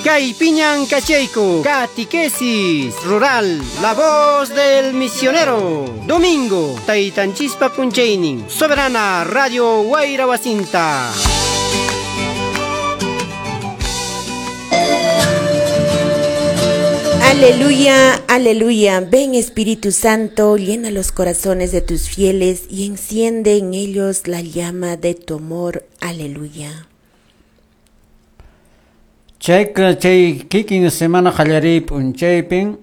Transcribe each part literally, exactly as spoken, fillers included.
Kaypiñan kachayku, Catequesis Rural, La Voz del Misionero. Domingo, Taytanchispa p'unchaynin, Soberana Radio Wayra Wasinta. Aleluya, aleluya. Ven Espíritu Santo, llena los corazones de tus fieles y enciende en ellos la llama de tu amor. Aleluya. Chayka chay kikin semana qallariy p'unchaypin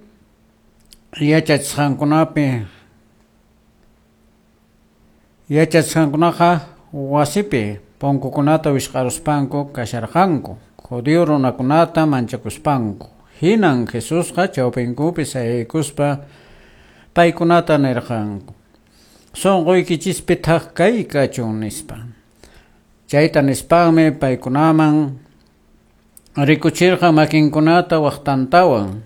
yachachisqankunapi yachachisqankunaqa wasipi punkukunata wisq'aruspanku kasharqanku judío runakunata manchakuspanku. Hinan Jesusqa chawpinkupi sayaykuspa paykunata nirqanku sunquykichispi thak kay kachun nispa. Chayta nispanmi paykunaman rikuchirqa makinkunata waqtantawan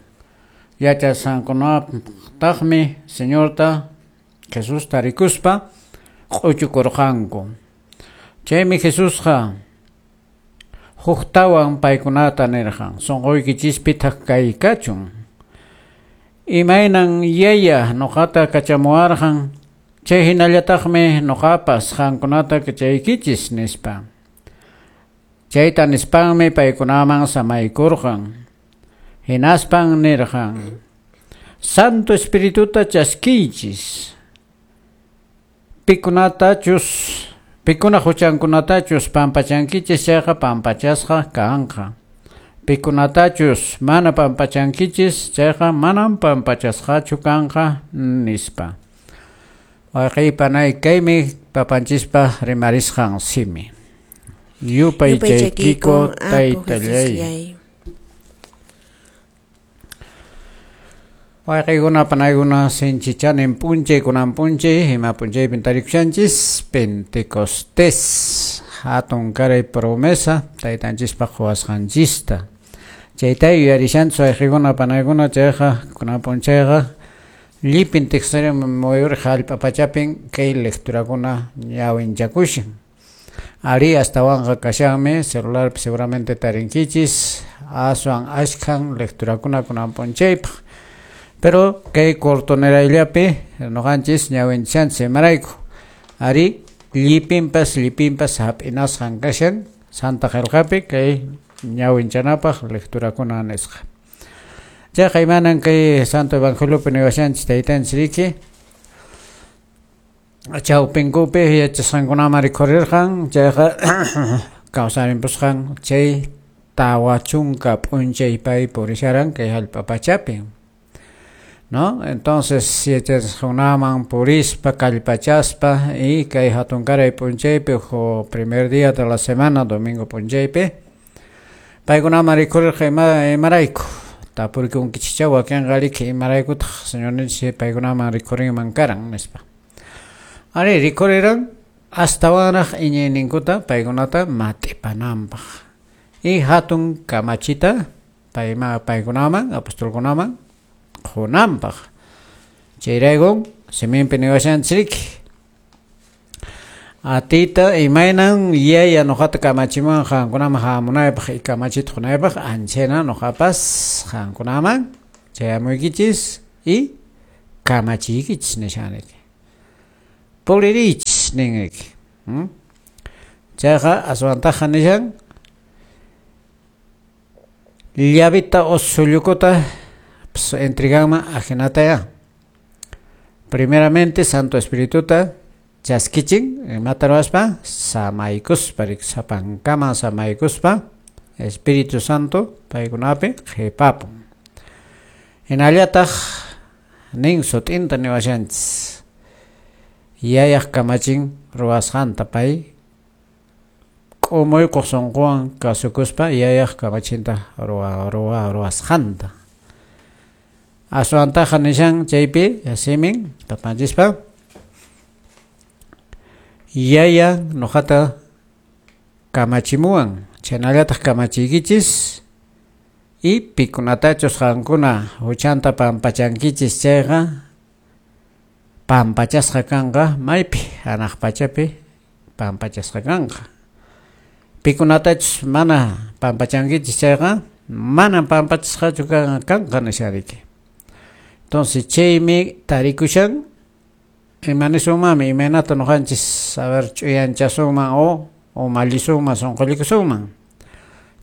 yachasqankunataqmi Señorta Jesusta rikuspa q'uchukurqanku. Chaymi Jesusqa huktawan paykunata nirqan sunquykichispi thak kay kachun. Imaynan yaya nuqata kachamuwarqan chay hinallataqmi nuqapas qankunata kachaykichis nispa. Chayta nispanmi paykunaman samaykurqan. Hinaspan nirqan Santo Espirituta chaskiychis pikunatachus pikuna huchankunatachus pampachankichis chayqa pampachasqa kanqa. Pikunatachus mana pampachankichis chayqa manam pampachasqachu kanqa nispa. Wayqey kaymi papanchispa rimarisqan simi. Yupaychaykiko taytallay. Wayqeykuna panaykuna sinchichanin p'unchay kunan p'unchay ima p'unchaypin tarikushanchis Pentecostés hatun karay promesa taytanchispaq quwasqanchista. Chayta yuyarishanchis wayqeykuna panaykuna chayqa kunan p'unchayqa llipin tiqsiri muyuriq hallp'a pachapin kay lecturakuna ñawinchakushan. Ari astawanqa kashanmi celularpi seguramente tarinkichis aswan ashkhan lecturakuna kunan p'unchaypaq. Pero kay cortonerayllapi nuqanchis ñawinchanchis imarayku ari llipinpas llipinpas hap'inasqan kashan Santa Qillqapi kay ñawinchanapaq lecturakuna nisqa. Chayqa imanan kay Santo Evangeliopi niwashanchis taytanchis riki chawpinkupi yachasqankunaman rikhurirqan chayqa kawsarinpusqan chay tawa chunka p'unchay pay purisharan kay hallp'a pachapi. ¿No? Entonces yachasqankunaman purispa kallpachaspa y kay hatunkaray p'unchaypi o primer día de la semana domingo p'unchaypi paykunaman rikhurirqa ima imarayku tapurikunkichikcha wakinqa riki imaraykutaq señorninchis paykunaman rikhurinman karan nispa. Ari rikhuriran astawanraq iñiyninkuta paykunata mat'ipananpaq y hatun kamachita payma paykunaman apostolkunaman qunanpaq. Chayraykun siminpi niwashanchis riki atiyta imaynan yaya nuqata kamachimuwan qankunaman hamunaypaq y kamachita qunaypaq anchayna nuqapas qankunaman chayamuykichis y kamachiykichis nishaniki. Puririychis ninki. Chayqa aswantaqa nishan llavita o sullukuta entreganman ajinataya. Primeramente Santo Espirituta chaskichin imata ruwaspa samaykuspa sapankama samaykuspa Espíritu Santo paykunapi qhipapun. Hinallataq nin sut'inta niwashanchis yayaq kamachin ruwasqanta pay k'umuykuq sunquwan kasukuspa yayaq kamachinta ruwa ruwa ruwasqanta. Aswantaqa nishan chaypi simin papanchispa yaya nuqata kamachimuwan chaynallataq kamachiykichis y pikunatachus qankuna huchanta pampachankichis chayqa pampachasqa kanqa maypi hanaq pachapi pampachasqa kanqa. Pikunatachus mana pampachankichis chayqa Manan pampachisqachu kanqa nishariki. Entonces chaymi tarikushan imanisunmanmi imaynata ñuqanchis a ver ch'uyanchasunman o o mallisunman sunqullikusunman.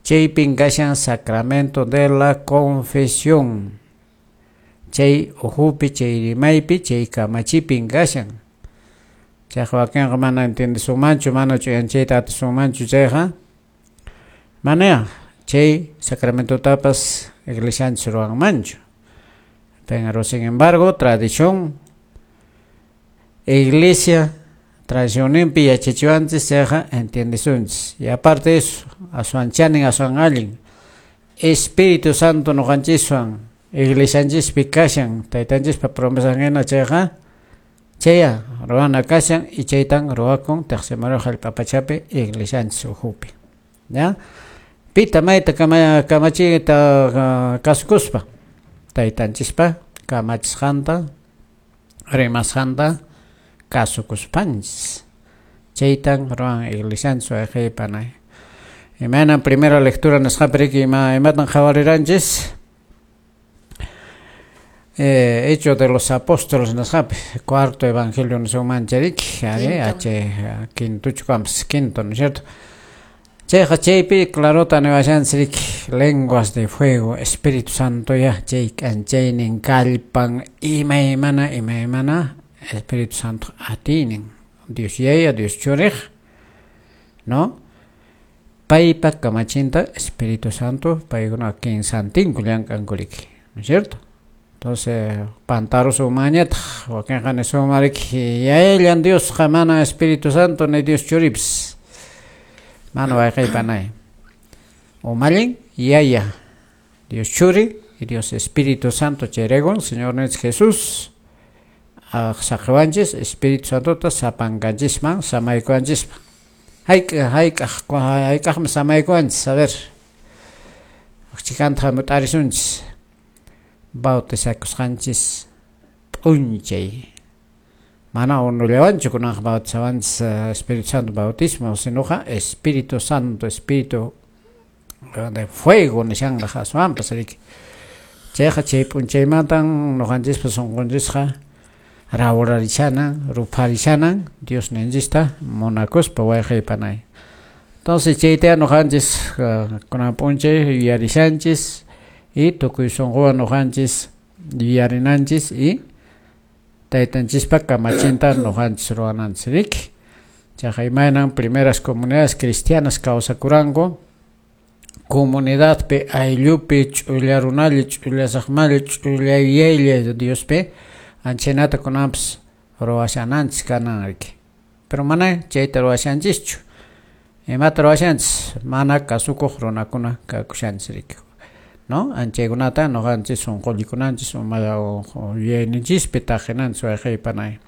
Chaypin kashan sacramento de la confesión. Chay uhupi, chay rimaypi, chay kamachipin kashan. Chayqa wakinqa mana entiendesunmanchu, mana ch'uyanchayta atisunmanchu chayqa manaya chay sacramentotapas iglesianchis ruwanmanchu. Pero sin embargo, tradición iglesia tradicionninpi yachachiwanchis chayqa entiendesunchis. Y aparte de eso, aswan chanin, aswan allin Espíritu Santo ñuqanchiswan iglesianchispi kashan, taytanchispa promesan hina chayqa chaya ruwana kashan y chaytan ruwakun tiqsimaru hallp'a pachapi iglesianchis ukhupi. ¿Ya? Pita mayta kama kamachiyta kasukuspa taytanchispa kamachisqanta rimasqanta kasukuspanchis. Chaytan ruwan iglesianchis wayqiypanay. Imaynan primera lectura nisqapi riki ima imatan qhawariranchis eh, Hecho de los Apóstoles nisqapi cuarto evangelio nisunmancha riki ari h quintuchu kanpas quinto, ¿no es cierto? Chayqa chaypi clarota niwashanchis riki lenguas de fuego, Espíritu Santo ya chay k'anchaynin kallpan imaymana imaymana Espíritu Santo atiynin Dios Yaya, Dios Churiq, ¿no? Paypa kamachinta Espíritu Santo paykuna kinsantinku llank'anku riki, ¿no es cierto? Entonces pantarusunmanñataq wakinqa nisunman riki Yayallan Diosqa mana Espíritu Santo ni Dios Churipis. Mana wayqiypanay. Umallin Yaya, Dios Churi y Dios Espíritu Santo chayrayku Señor Jesús saqiwanchis Espíritu Santota sapankanchisman samaykuwanchispa. Hayk'a hayk'aq hayk'aqmi samaykuwanchis, a ver. Chikanta hamut'arisunchis bautizakusqanchis p'unchay. Mana unullawanchu kunanqa bautizawanchis Espíritu Santo bautismo, sinoqa Espíritu Santo, Espíritu de fuego nishanqa aswanpas riki. Chayqa chay p'unchaymantan ñuqanchispa sunqunchisqa rawrarishanan, rupharishanan Dios ninchista munakuspa wayqiypanay. Entonces chayta ñuqanchis kunan p'unchay yuyarishanchis y tukuy sunquwan ñuqanchis yuyarinanchis y taytanchispa kamachinta ñuqanchis ruwananchis riki. Chayqa imaynan primeras comunidades cristianas kawsakuranku comunidadpi ayllupi ch'ulla runalla ch'ulla saqmalla ch'ulla yuyaylla Diospi anchanata kunanpas ruwashananchis kanan riki. Pero mana chayta ruwashanchischu. Imata ruwashanchis mana kasukuq runakuna kakushanchis riki. ¿No? Anchaykunata ñuqanchis sunqullikunanchis uma yuyayninchispi taqinanchis wayqiypanay.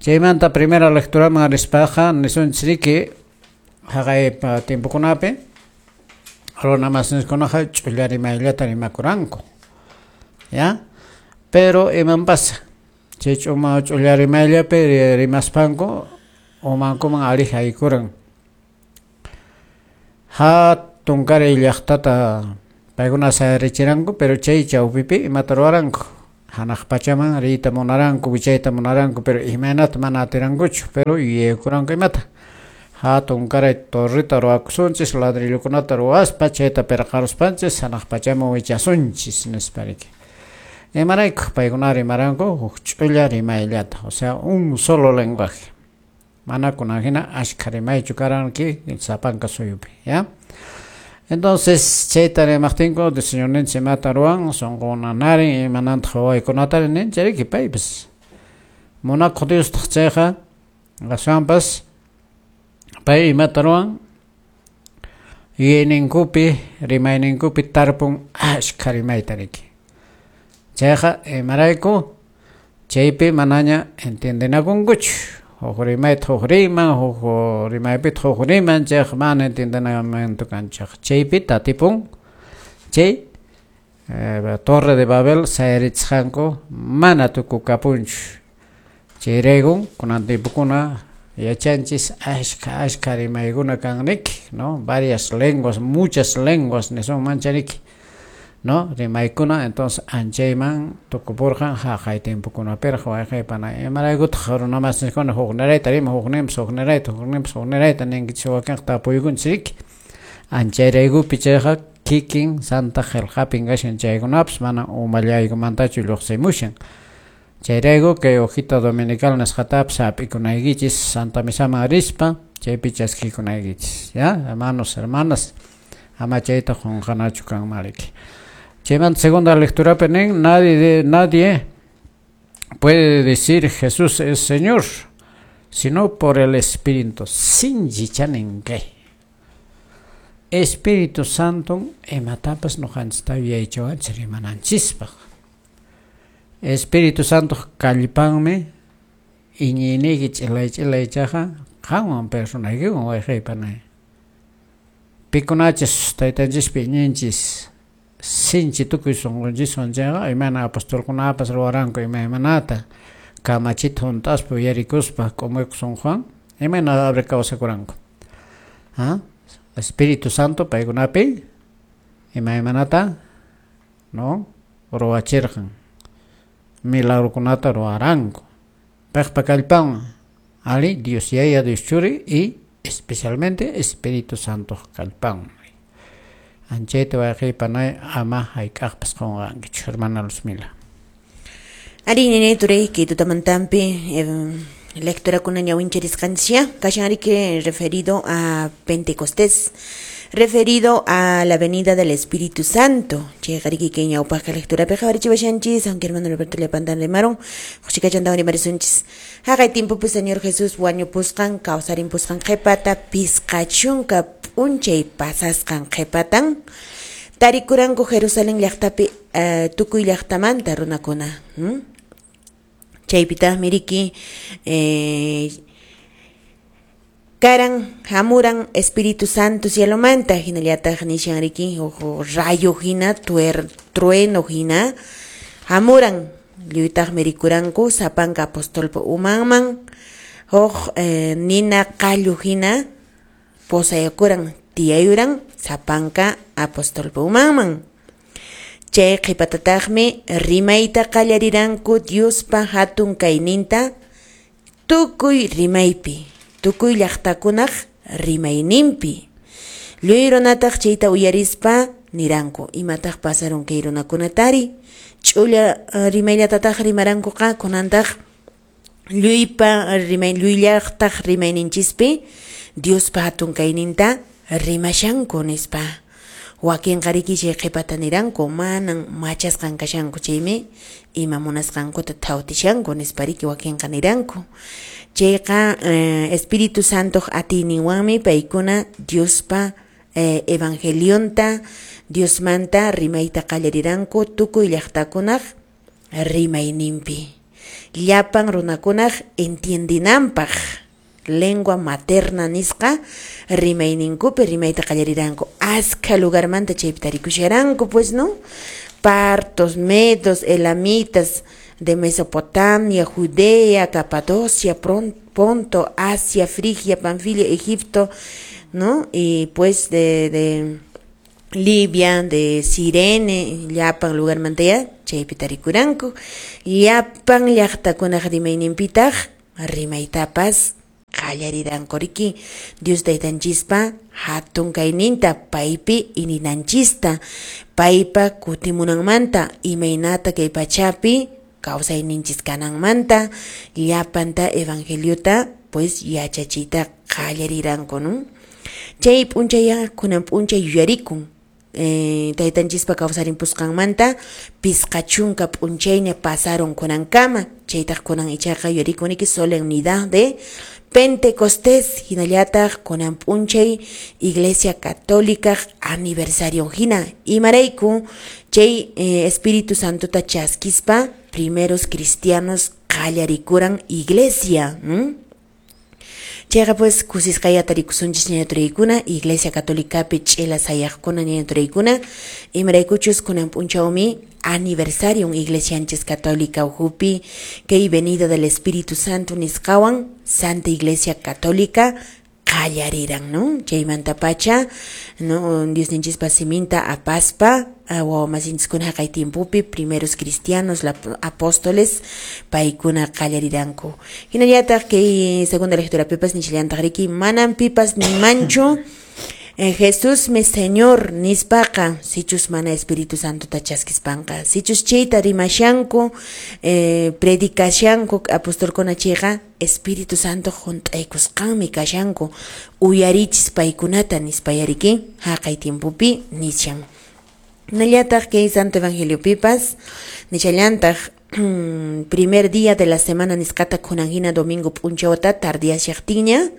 Chaymanta primera lecturaman rispaqa nisunchis riki haqay tiempokunapi runa masinchiskunaqa ch'ulla rimayllata rimakuranku. ¿Ya? Pero iman pasa chay ch'uma ch'ulla rimayllapi rimaspanku umankuman ari haykuran. Hatunkaray llaqtata paykuna sayarichiranku, pero chay chawpipi imata ruwaranku hanaq pachaman riyta munaranku, wichayta munaranku, pero imaynata mana atirankuchu, pero yuyaykuranku imata hatunkaray torreta ruwakusunchis, ladrillokunata ruwaspa chayta pirqaruspanchis hanaq pachaman wichasunchis nispa riki. Imarayku paykuna rimaranku huk ch'ulla rimayllata, o sea, un solo lenguaje. Mana kunan hina ashkha rimaychu karanki sapanka suyupi, ¿ya? Entonces chayta rimaqtinku Señorninchis imata ruwan sunqunanarin imanantaq wawaykunata ninchis riki paypas. Munakuq Diostaq chayqa aswanpas pay imata ruwan yuyayninkupi rimayninkupi tarpun ashkha rimayta riki. Chayqa imarayku chaypi manaña entiendenakunkuchu. Huk rimayta huk riman, huk rimaypita huk riman, chayqa mana entiendenamiento kanchaq. Chaypi tatipun chay eh, Torre de Babel sayarichisqanku mana tukukapunchu. Chayraykun kunan tiempokuna Yachanchis ashka ashka rimaykuna kanriki, ¿no? Varias lenguas, muchas lenguas nisunman chariki, ¿no? Rimaykuna, entonces anchayman tukupurqan haqay tiempokunapiraq wayqaypana imaraykutaq runamasinchiskuna huknirayta riman, hukninpas huknirayta, hukninpas huknirayta ninkichis wakinqa tapuykunchis riki. Anchayraykupi chayqa kikin Santa Qillqapin kashan chaykunapas mana umallaykumantachu lluqsimushan. Chayrayku kay hojita dominical nisqatapas hap'ikunaykichis Santa Misaman rispa chaypi chaskikunaykichis, ya, hermanos, hermanas, ama chayta qunqanachu kanman riki. Chaymanta segunda lecturapi nin, nadie de, nadie puede decir Jesús es Señor, sino por el Espíritu. Sinchi chanin kay. Espíritu Santo imatapas ñuqanchista yuyaychawanchik rimananchispaq. Espíritu Santo kallpanmi iñiyniyki ch'ilay ch'ilaychaqa qanwan personaykiwan wayqaypanay. Pikunachis taytanchispi iñinchis sinchi tukuy sunqunchiswan chayqa imayna apostolkunapas ruwaranku imaymanata kamachita hunt'aspa uyarikuspa k'umuyku sunquwan imayna abre kawsakuranku. ¿Ah? Espíritu Santo paykunapi imaymanata no ruwachirqan milagrokunata ruwaranku paypa kallpanwan ali Dios Yaya, Dios Churi y especialmente Espíritu Santo kallpanwan. Anchayta wayqaypanay ama hayk'aqpas qunqankichu, hermana Luzmila. Ari nene turay kay tutamantampi eh, lectura kuna ñawincharisqanchis kashan riki referido a Pentecostés, referido a la venida del Espíritu Santo. Chayqa riki kay ñawpaqqa lecturapi qhawarichiwashanchis, aunque hermano Roberto llapantan rimaron, huchikachantawan rimarisunchis. Haqay tiempopi Señor Jesús wañupusqan, kawsarimpusqan qhipata, pisqa chunka p'unchay pasasqan qhipatan, tarikuranku Jerusalén llaqtapi uh, tukuy llaqtamanta runakuna. ¿Mm? Chaypitaqmi riki eh, karan hamuran Espíritu Santo cielomanta hinallataq nishan riki huk rayo hina tuer, trueno hina hamuran lluytaqmi rikuranku sapanka apostolpa umanman huk eh, nina qallu hina posayakuran tiyayuran sapanka apostolpa umanman. Chay qhipatataqmi rimayta qallariranku Diospa hatun kayninta tukuy rimaypi, tukuy llaqtakunaq rimayninpi. Lluy runataq chayta uyarispa niranku, imataq pasarun kay runakunatari? Ch'ulla rimayllatataq rimarankuqa kunantaq lluypa rimay lluy llaqtaq rimayninchispi Diospa hatun kayninta rimashanku nispa. Wakinqa riki chay qhipata niranku manan machasqan kashanku chaymi ima munasqankuta thawtishanku nispa riki wakinqa niranku. Chayqa eh, Espíritu Santoq atiyninwanmi paykuna Diospa eh, evangelionta Diosmanta rimayta qallariranku tukuy llaqtakunaq rimayninpi. Llapan runakunaq entiendinanpaq lengua materna nisqa rimayninkupi rimayta qallariranku. Askha lugarmanta chaypi tarikusharanku pues, ¿no? Partos, medos, elamitas de Mesopotamia, Judea, Capadocia, Ponto, Asia, Frigia, Panfilia, Egipto, ¿no? Y pues de, de Libia, de Sirene, llapan lugarmanta chaypi tarikuranku. Llapan llaqtakunaq rimayninpitaq rimaytapas qallariranku riki Dios taytanchispa hatun kayninta paypi ininanchista paypa kutimunanmanta imaynata kay pachapi kawsayninchis kananmanta llapanta evangeliota pues yachachiyta qallariranku, ¿no? Chay p'unchaya kunan p'unchay yuyarikun eh, taytanchispa kawsarimpusqanmanta pisqa chunka p'unchayña pasaron kunankama chaytaq kunan ichaqa yuyarikuniki solemnidad de Pentecostés hinallataq kunan p'unchay Iglesia Católica aniversario hina imarayku chay eh, Espíritu Santota chaskispa primeros cristianos qallarikuran iglesia, ¿m? Chayqa pues kusisqaya tarikusunchis ñaña turaykuna, Iglesia Católicapi ch'ila sayaqkuna ñaña turaykuna, imaraykuchus kunan p'unchawmi aniversario Iglesianchis Católica uhupi kay venida del Espíritu Santo nisqawan Santa Iglesia Católica qallariran, ¿no? Chaymanta pacha, ¿no? Diosninchispa siminta apaspa wawamasinchiskuna haqay tiempopi primeros cristianos, la, apóstoles paykuna qallariranku. Hinallataq kay segunda lectura pipas nishallantaq riki manan pipas nimanchu Eh, Jesús mi Señor nispaqa sichus mana Espíritu Santo chaskispanqa sichus chayta rimashanku eh, predicashanku apostolkuna chayqa Espíritu Santo hunt'aykusqanmi kashanku uyarichis paykunata nispayariki haqay tiempopi nishan. Nallataq kay Santo Evangelio pipas nishallantaq primer día de la semana nisqata kunan hina domingo p'unchawta tardiyashaqtinña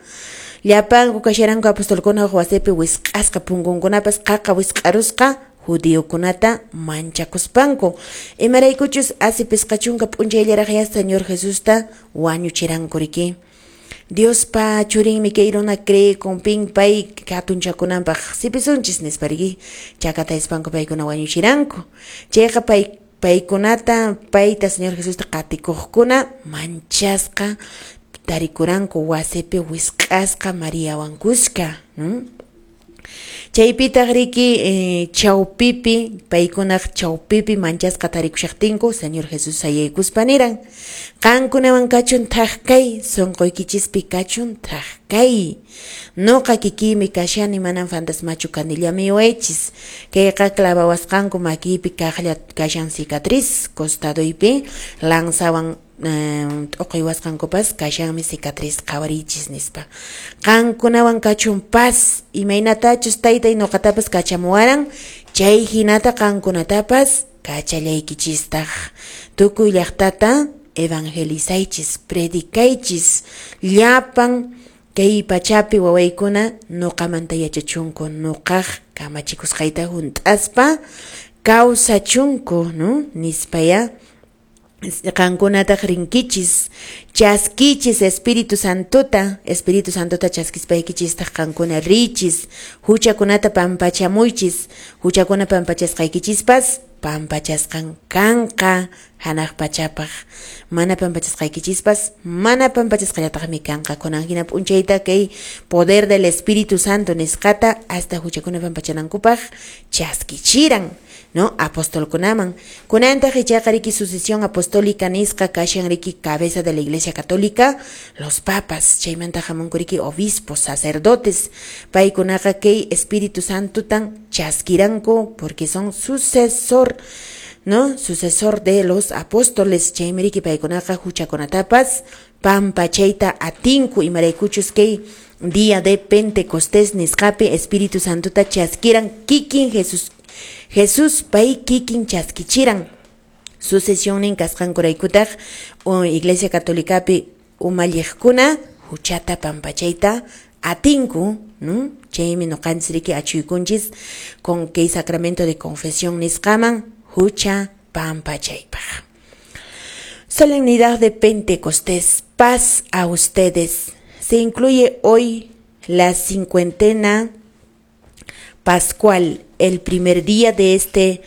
llapanku kasharanku apostolkuna wasipi wisq'asqa punkunkunapas qaqa wisq'arusqa judiokunata manchakuspanku imaraykuchus asi pisqa chunka p'unchayllaraq ya Señor Jesusta wañuchiranku riki. Diospa churinmi kay runa creekunpin pay hatunchakunanpaq sipisunchis nispa riki chakatayspanku paykuna wañuchiranku. Chayqa pay paykunata payta Señor Jesusta qatikuqkuna manchasqa tarikuranku wasipi wisq'asqa Mariawan kuska, ¿no? Chaypitaq riki eh, chawpipi paykunaq chawpipi manchasqa tarikushaqtinku Señor Jesús sayaykuspa niran qankunawan kachun thak kay sunquykichispi kachun thak kay noqa kikiymi kashani manan fantasmachu kanillami waychis kayqa clavawasqanku makiypi kaqlla kashan cicatriz costaduypi lanzawan t'uqiwasqankupas kashanmi cicatriz qhawarichis nispa qankunawan kachun paz imaynatachus taytay nuqatapas kachamuwaran chay hinata qankunatapas kachallaykichistaq tukuy llaqtata evangelizaychis predicaychis llapan kay pachapi wawaykuna nuqamanta yachachunku nuqaq kamachikusqayta hunt'aspa kawsachunku, ¿no? Nispaya qankunataq rinkichis chaskichis Espíritu Santota Espíritu Santota chaskispaykichistaq qankuna richis huchakunata pampachamuychis huchakuna pampachasqaykichispas pampachasqan kanqa hanaq pachapaq mana pampachasqaykichispas mana pampachasqallataqmi kanqa kunan hina p'unchayta kay poder del Espíritu Santo nisqata hasta huchakuna pampachanankupaq chaskichiran, ¿no? Apostolkunaman kunantaq ichaqa riki sucesión apostólica nisqa kashan riki cabeza de la Iglesia Católica los papas chaymanta hamunku riki obispos sacerdotes paykunaqa kay Espíritu Santotan chaskiranku porque son sucesor, ¿no? Sucesor de los apóstoles chaymi riki paykunaqa huchakunatapas pampachayta atinku imaraykuchus kay día de Pentecostés nisqapi Espíritu Santota chaskiran kikin Jesús Jesús pay kikin chaskichiran sucesionin kasqankuraykutaq Iglesia Católicapi umalliqkuna huchata pampachayta atinku, ¿no? Chaymi nuqanchis riki achuykunchis con kay sacramento de confesión nisqaman hucha pampachaypaq. Solemnidad de Pentecostés, paz a ustedes. Se incluye hoy la cincuentena pascual, el primer día de este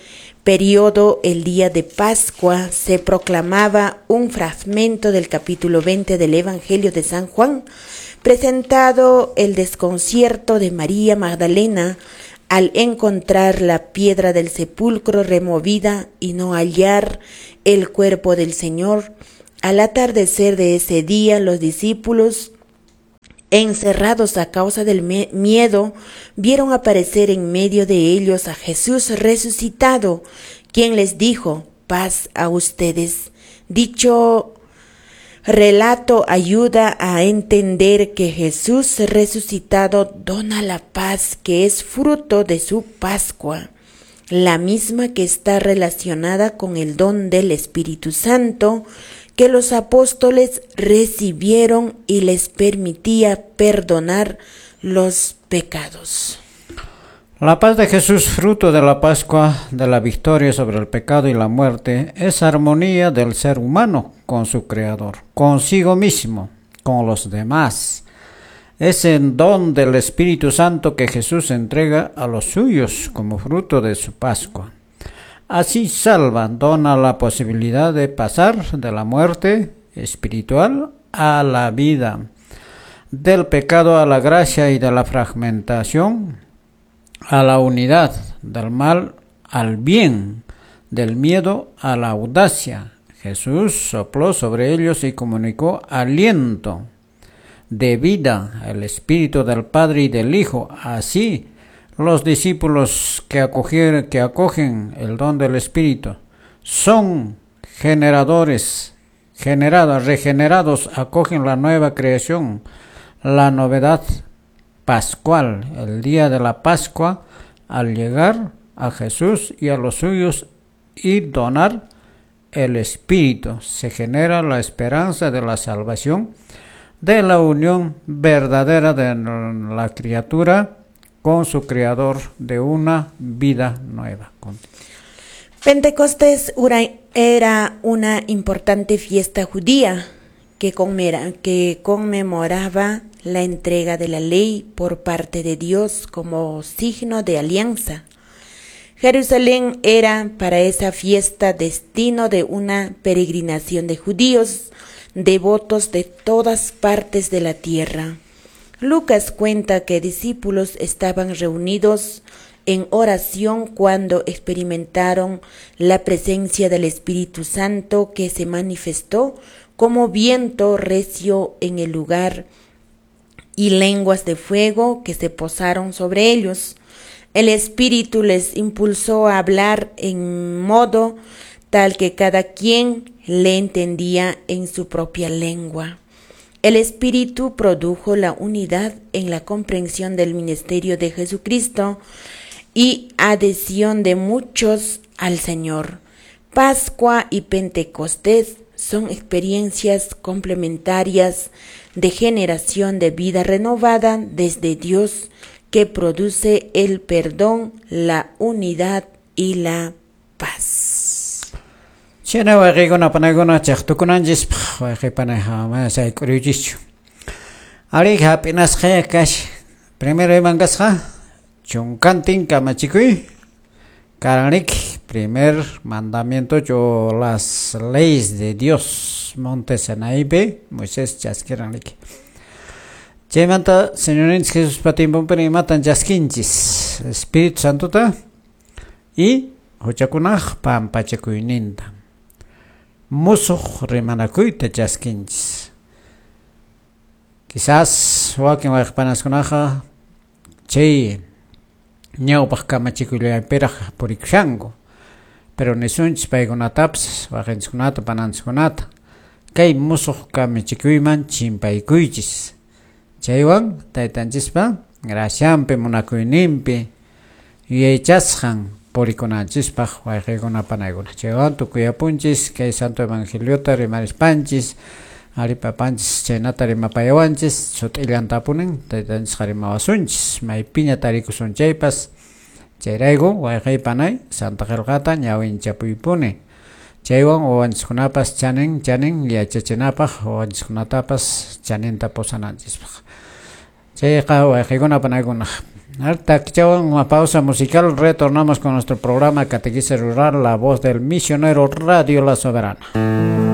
periodo, el día de Pascua, se proclamaba un fragmento del capítulo veinte del Evangelio de San Juan, presentado el desconcierto de María Magdalena al encontrar la piedra del sepulcro removida y no hallar el cuerpo del Señor. Al atardecer de ese día, los discípulos, encerrados a causa del miedo, vieron aparecer en medio de ellos a Jesús resucitado, quien les dijo: paz a ustedes. Dicho relato ayuda a entender que Jesús resucitado dona la paz que es fruto de su Pascua, la misma que está relacionada con el don del Espíritu Santo que los apóstoles recibieron y les permitía perdonar los pecados. La paz de Jesús, fruto de la Pascua, de la victoria sobre el pecado y la muerte, es armonía del ser humano con su Creador, consigo mismo, con los demás. Es el don del Espíritu Santo que Jesús entrega a los suyos como fruto de su Pascua. Así salva, dona la posibilidad de pasar de la muerte espiritual a la vida, del pecado a la gracia y de la fragmentación a la unidad, del mal al bien, del miedo a la audacia. Jesús sopló sobre ellos y comunicó aliento de vida, el Espíritu del Padre y del Hijo. Así, los discípulos que, acoger, que acogen el don del Espíritu son generadores, generados, regenerados, acogen la nueva creación, la novedad pascual, el día de la Pascua, al llegar a Jesús y a los suyos y donar el Espíritu, se genera la esperanza de la salvación, de la unión verdadera de la criatura con su Creador, de una vida nueva. Pentecostés era una importante fiesta judía que conmemoraba la entrega de la ley por parte de Dios como signo de alianza. Jerusalén era para esa fiesta destino de una peregrinación de judíos devotos de todas partes de la tierra. Lucas cuenta que discípulos estaban reunidos en oración cuando experimentaron la presencia del Espíritu Santo, que se manifestó como viento recio en el lugar y lenguas de fuego que se posaron sobre ellos. El Espíritu les impulsó a hablar en modo tal que cada quien le entendía en su propia lengua. El Espíritu produjo la unidad en la comprensión del ministerio de Jesucristo y adhesión de muchos al Señor. Pascua y Pentecostés son experiencias complementarias de generación de vida renovada desde Dios, que produce el perdón, la unidad y la paz. Chena wayqikuna panaykuna chaqtukunanchispaq wayqipanayqa mana sayk'uriychischu. Ari hap'inasqaya kash. Primero iman kasqa chunkantin kamachikuy karanrik, primer mandamiento yo las leyes de Dios, monte Sinaípi Moisés chaskiranrik. Chaymanta Señorninchik Jesuspa tiemponpi imatan chaskinchis Espíritu Santota y huchakunaq pampachakuyninta. Musuq rimanakuyta chaskinchis. Quizás wakin wayqipanaskunaqa chay ñawpaq kamachikuyllapiraq purikushanku, pero nisunchis paykunatapas waqinchikkunata pananchikkunata kay musuq kamachikuyman chimpaykuychis. Chaywan taytanchispa gracianpi munakuyninpi yuyaychasqan purikunanchispaq wayqikuna panaykuna. Chaywan tukuyapunchis kay santo evangeliota rimarispanchis, aripapanchis chaynata rimapayawanchis, sut'illantapunin taytanchisqa rimawasunchis maypiña tarikusun chaypas. Chayrayku wayqiy panay santa qillqata ñawinchapuypuni. Chaywan wawanchiskunapas chanin chanin yachachinapaq, wawanchiskunatapas chaninta pusananchispaq. Chayqa wayqikuna panaykuna. Takichawan una pausa musical, retornamos con nuestro programa Catequesis Rural, la voz del misionero, Radio La Soberana.